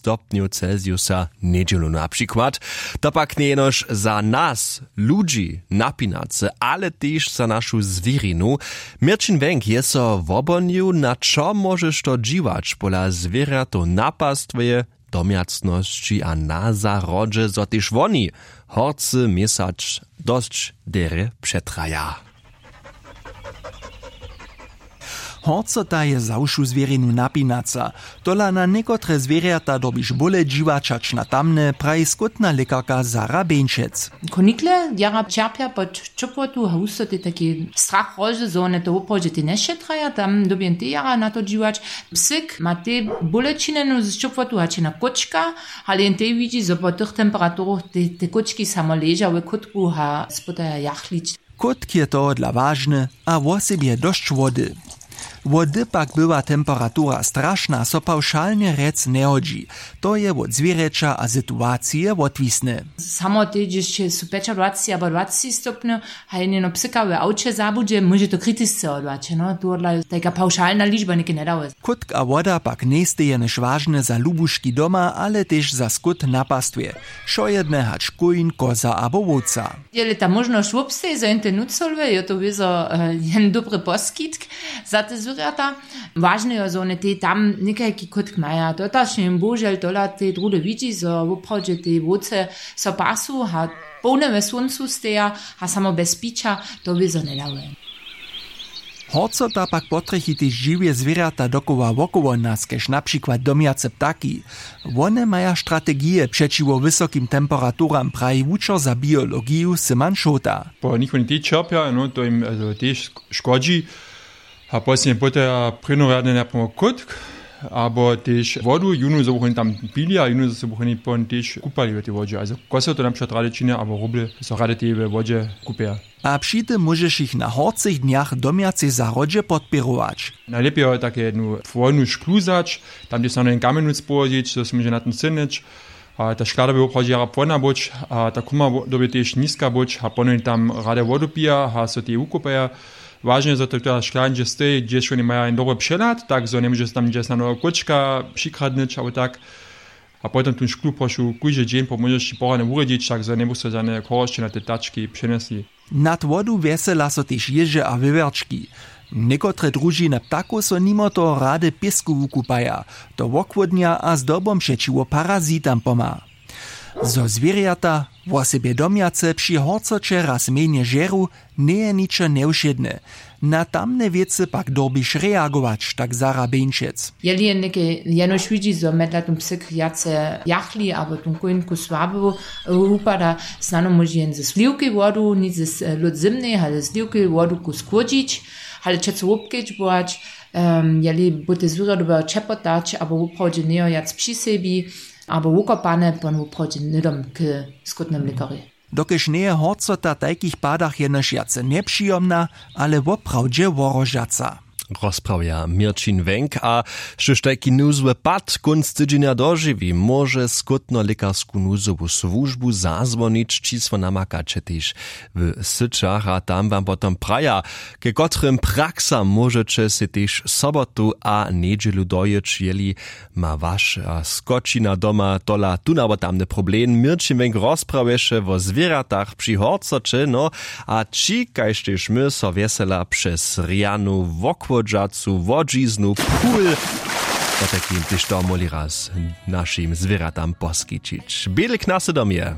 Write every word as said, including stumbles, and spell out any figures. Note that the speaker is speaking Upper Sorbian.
stopnjow celsiusa njedźelu na přikład. To pak njeje jenož za nas ludźi napinacy, ale tež za našu zwěrinu. Měrćin wjenk je so wobhonił, na čo móžeš to dźiwać pola zwěrjatow na pastwje, domjacnosći a na zahrodźe, zo tež woni horcy měsac dosć derje přetraja. Horcota je za wšu zwěrinu napinaca. Tola na někotre zwěrjata dyrbiš bóle dźiwać hač na tamne, praji skótna lěkarka Sara Bjeńšec. Konikle jara ćerpja pod ćopłotu a husto tej tajki strach rože, zo wone to woprawdźe tej nješetraja, tam dyrbi jen tej jara na to dźiwać. Psyk ma tej bóle činjenu z ćopłotu hač na kóčka, ale jen tej widźi, zo po tych temperaturachu te kóčki samo leža w kótku a spytaja jachlić. Kótk je tohodla wažny a wosebje dosć wody. Wody pak bywa temperatura strašna, so pawšalnje rjec njehodźi. To je wot zwěrjeća a situacije wotwisne. Samo tež hdźež su pjećadwaceći abo dwaceći stopnjow, a jen jeno psyka w awće zabudźe, móže to kritisce wodłać. No tohodla tajka pawšalna ličba něke njedało. Kótk a woda pak njejstej jenož wažne za lubuški doma, ale tež za skót na pastwje, wšojedne hač kóń, koza abo wowca. Jeli ta móžnosć wobsteji, zo jen te nucholwe, jo to wězo jen dobry poskitk za te zwěrjata. Wažne jo zo wone tej tam někajki kótk maja, dotačnje jen bohužel tola tej druhdy widźi, zo woprawdźe tej wowce so pasu a połne we słóncu steja a samo bjez pića to wězo njedawaja. Horcota pak potrjechi tež žiwje zwěrjata dokoła wokoło nas, kaž na přikład domjace ptaki. Wone maja strategije přećiwo wysokim temperaturam, praji wučer za biologiju Syman Šołta. Po nich woni tež ćerpja, no to jim tež škodźi. A poslednje poteja prěnjorjadnje napomok kótk abo tež wodu, jónu zo buch woni tam pili a jónu zo buch woni pon tež kupali w tej wodźe, ale koso to na přikład rady činja abo roble, so rady tej we wodźe kupeja. A při tym móžeš jich na horcych dnjach w domjacej zahrodźe podpěrować. Najlěpje jo take jednu płonu šklu wzać, tam dźe snano jen kamjenus połožić, zo so móže na tym synyć. A ta škla dyrbi woprawdźe jara płona być a ta kuma dyrbi tež niska być a ponowni tam rady wodu pija a so tej wukupaja. Wažne je zo to ta škla hdźe steji, hdźež woni maja jen dobry přehlad, tak zo njemóže so tam hdźe snano kóčka přikradnyć abo tak. A potom tu šklu prošu kóždy dźeń po móžnosći poradnje wurjedźić, tak zo njebósta žane chorosće na te ptački přenjesli. Nad wodu wjesela so tež jěže a wěwjerčki. Někotre družiny ptakow so nimo toho rady w pěsku wukupaja. To wochłódnja a zdobom přećiwo parazitam pomha. Zo zwěrjata, wosebje domjace, při horcoće raz mjenje žeru, njeje ničo njewšědne. Na tamne wěcy pak dyrbiš reagować, tak Sara Bjeńšec. Jeli je něke jenož widźi, zo mjedlatym psyk wjace jachli abo tón kóń ku słaby wupada, snano móže jen ze sliwkej wodu nic ze lód zymnej ale ze sliwkej wodu ku schłódźić, ale přeco wobkedźbować, jeli bu te zwěrjo dyrbjało ćepotać abo woprawdźe njejo wjac při sebi abo wukopane, pon woprawdźe hnydom k skótnym lěkarjej. Dokelž njeje horcota w tajkich padach jenož wjace njepřijomna, ale woprawdźe wohrožaca. Rozprawja měrćin wjenk a štóž tajki nuzły pad kónc tydźenja dožiwi, móže skótno lěkarsku nuzowu słužbu zazwonić, čisło namakaće tež w syćach a tam wam potom praja, ke kotrym praksam móžeće sej tež sobotu a njedźelu dojěć, jeli ma waša skočina doma tola tón abo tamny problem. Měrćin wjenk rozprawješe wo zwěrjatach při horcoće, no, a ći kaž tež my so wjesela přez rjanu wochłodźacu łodźiznu pul. Potajkim tež to móhli raz našim zwěrjatam poskićić. Bělk na sydom je.